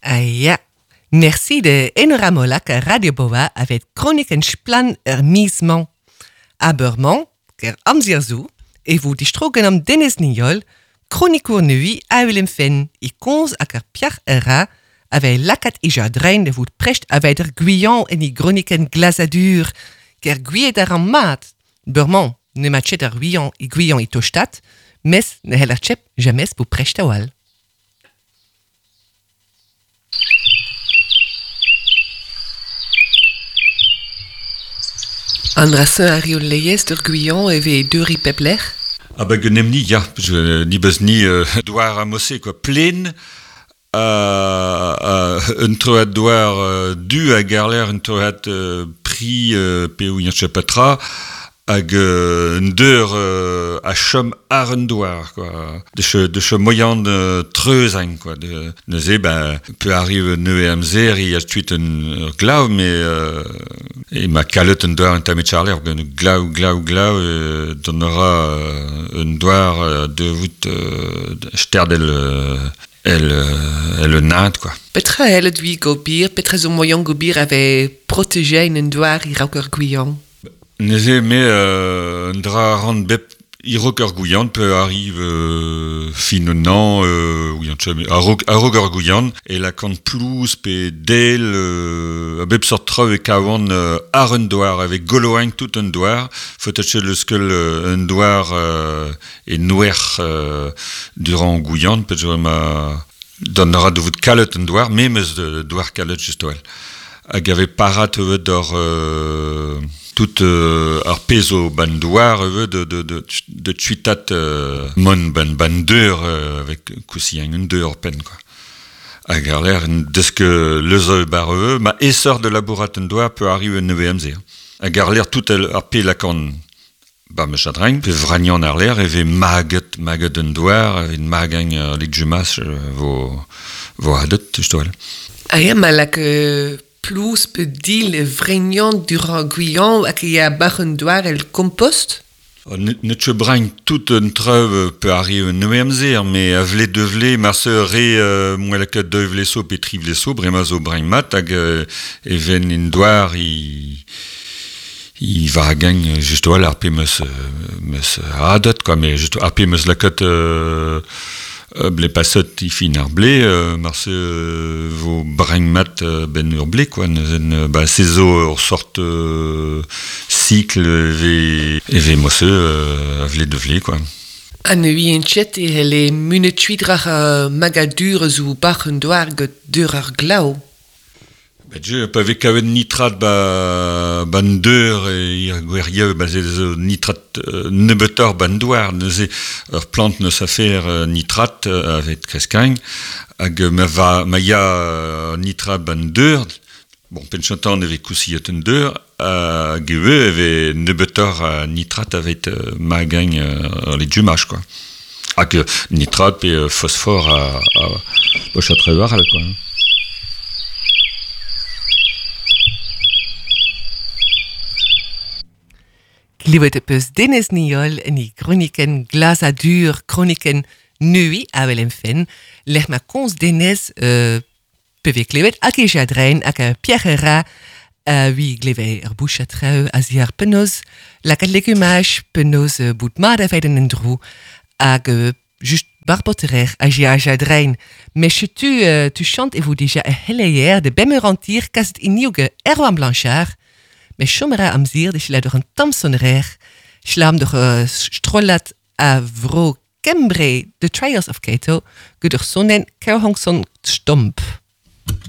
Ah ja. Merci de Enora Molac a Radio Boa avet chroniken splann er miz-mañ. Aber-mañ, ker amzer zo, e vo distrogen am Denez Niol, kronikour neui a welem fenn, e konz hag ar piar era, avei lakat e jardrein de vout prest aveit er guian en i groniken glasadur, ker gwiet ar an mat. Beurmañ, ne mat chet ar guian i guian i tostat, mes ne hell ar chep jamais pou prest a wal. An draseñ ar eo leiez d'ur guian e vez deuri pep lec'h? Ah ba genemni, ya, je, ni beus ni douar a mosse, quoi, plen, un troad douar du a garler, un troad pri pe ou patra, hag un deur a chom ar un douar, quoi. De che, de che moyen de treuzañ, quoi. De, neuze, ben, peu arrive neue amzer, i a tuit un glav, mais e ma kalet un douar un tamet charler, un glav, glav, glav, donnera un douar de vout sterdel el, el un quoi. Petra elle dui gobir, petra zo moyen gobir avait protégé un douar i raok ur guian? Neuze, me un dra ran bep irok ur gouian pe arrive fin un an, a-raok ur gouian, e la kant plouz pe del, a bep sort traoù e kavan ar un douar, avec goloañ tout un douar, faut acheter le skeul un douar e nouer durant gouian, pe zo ma don ra de vout kalet un douar, me meus de douar kalet just oel. Hag ave parat evet d'or tout ar pezo ban douar evet de tuitat mon ban ban deur avec kousiang un deur pen quoi. Hag ar l'air deus que lezo bar eve, ma essor de labourat un douar peut arriver un nevez. Hag ar l'air tout el, ar pe lakan ba me chadrein, pe vragnan ar l'air eve maget un douar, eve magañ lik jumas vo adet, just oel. Ah ja, ma lak plouz pe dil e vrignan durant guian hag e a bar un douar el compost? Ne che brain tout un treuv pe arrive un nevez amzer, mais a vle de vle, mar se re moa lakat deux vle so pe tri vle so, brema zo brain mat hag e ven in douar i va gagne just oal ar pe meus adet, quoi, mais just ar pe meus lakat ble passet i fin ar ble, mar se vo brain mat ben ur ble, quoi, neuzen, ba se zo ur sort cycle ve mosse a vle de vle, quoi. An ui en chet e hele mune tuidrach magadur zo bar un douar get deur ar glaou. Ben je, pa ve kavet nitrat ba ban deur e ir gweriev ba ze zo nitrat nebetor ban douar, neuze ur plant neus afer nitrat avet kreskañ, hag ma va ma ya nitrat ban deur, bon, penchantan eve kousiet un deur, hag eve eve nebetor nitrat avet magañ les jumach, quoi. Hag nitrat pe phosphore a bochatre war, quoi. Klivet e peus Denez Niol en i chroniken glasadur, chroniken nui a wel em fen, lec'h ma konz Denez pe klevet hag e jadrein hag a Pierre Ra wi gleve ur bouch a treu a zi ar penoz lakat legumaj penoz bout mat a en dro hag just barboterer a ji a jadrein. Mais tu, tu chante e vo déjà e heleier de bemmerantir kaset iniouge Erwan Blanchard, mais chomera am zir de schla door een tamsonrer, schlam door strollat a vro Kembre, The Trials of Cato, gudur sonnen Kerhongson Stomp.